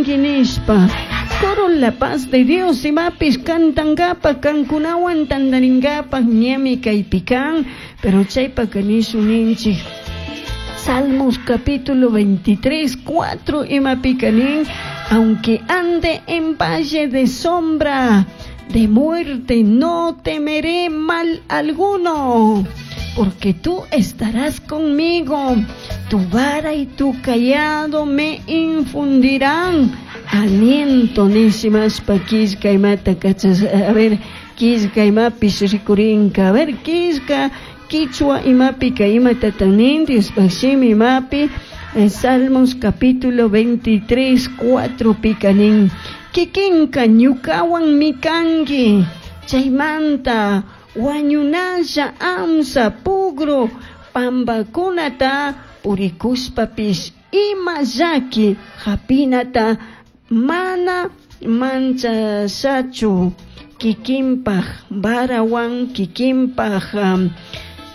cangui nishpa. Coro La Paz de Dios imapish cantangapak kankunawan tandaringapak ñami kaypi kan, pero chaypaka nishun ninchik. Salmos capítulo 23, 4 imapika nin, aunque ande en valle de sombra de muerte, no temeré mal alguno, porque tú estarás conmigo, tu vara y tu cayado me infundirán aliento. Nishimashpa killka imata kachas, a ver, killka imapish rikurinka, a ver, killka quichua imapika imatatan nin, Diospaj shimi imapi, Salmos capítulo 23, 4 pika nin, kikinka ñukawan mikanki, chaymanta wañunalla amsa pugru pambakunata purikushpapish ima llaki hapinata mana manchashachu, kikinpaj varawan kikinpaj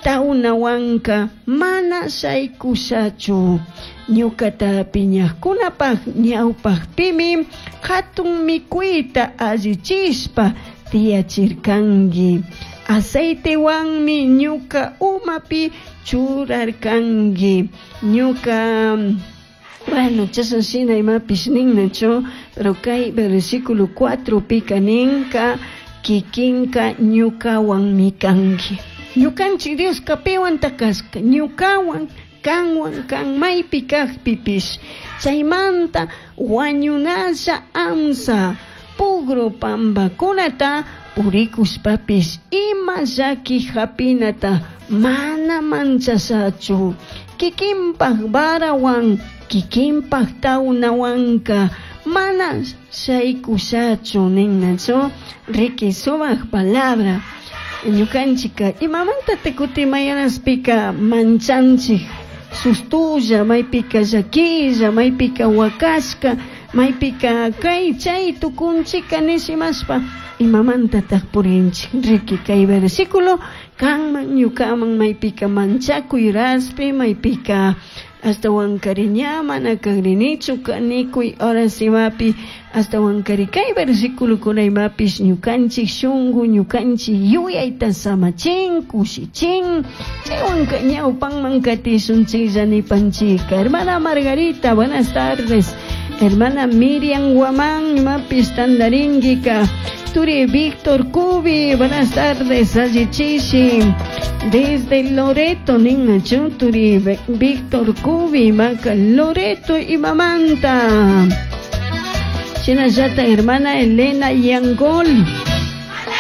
taunawanka mana shaykushachu, ñukata piñajkunapaj ñawpajpimi hatun mikuyta allichishpa tiyachirkanki, aceitewanmi ñuka umapi churarkanki, ñuka bueno, chashan shina imapish ninnachu, pero kay versículo 4 pika ninka kikinka ñukawanmi kanki. Ñukanchik Dioska piwan takashka, ñukawan, kanwan, kan maypi kajpipish, chaymanta wañunalla amsa pugru pambakunata purikushpapish ima llaki hapinata mana manchashachu, kikinpaj varawan kikinpaj tawnawanka mana shaykushachu ninnachu. Riki sumak palabra. Ñukanchika imamanta tikutimayanaspika manchanchik, sustulla, maypika llakilla, maypika wakashka, maypika kay chay tukunchika nishimashpa imamantataq purinchik. Riki kay versículo kanman ñukaman maypika manchakuy raspi, maypika hasta wankariña mana kagrinichu kanikuy horas imapi, hasta wankari kay versículo kuna imapish ñukanchik shungu ñukanchik yuyayta samachin kushichin, chaywanka ñawpanman katishunchiklla nipanchika. Hermana Margarita, buenas tardes. Hermana Miriam Guamán, imapis tandaringuika. Turi Víctor Cubi, buenas tardes, allichishi. Desde Loreto, ninnachu, Turi Víctor Cubi, maca Loreto y Mamanta. Shinallata, hermana Elena Yangol.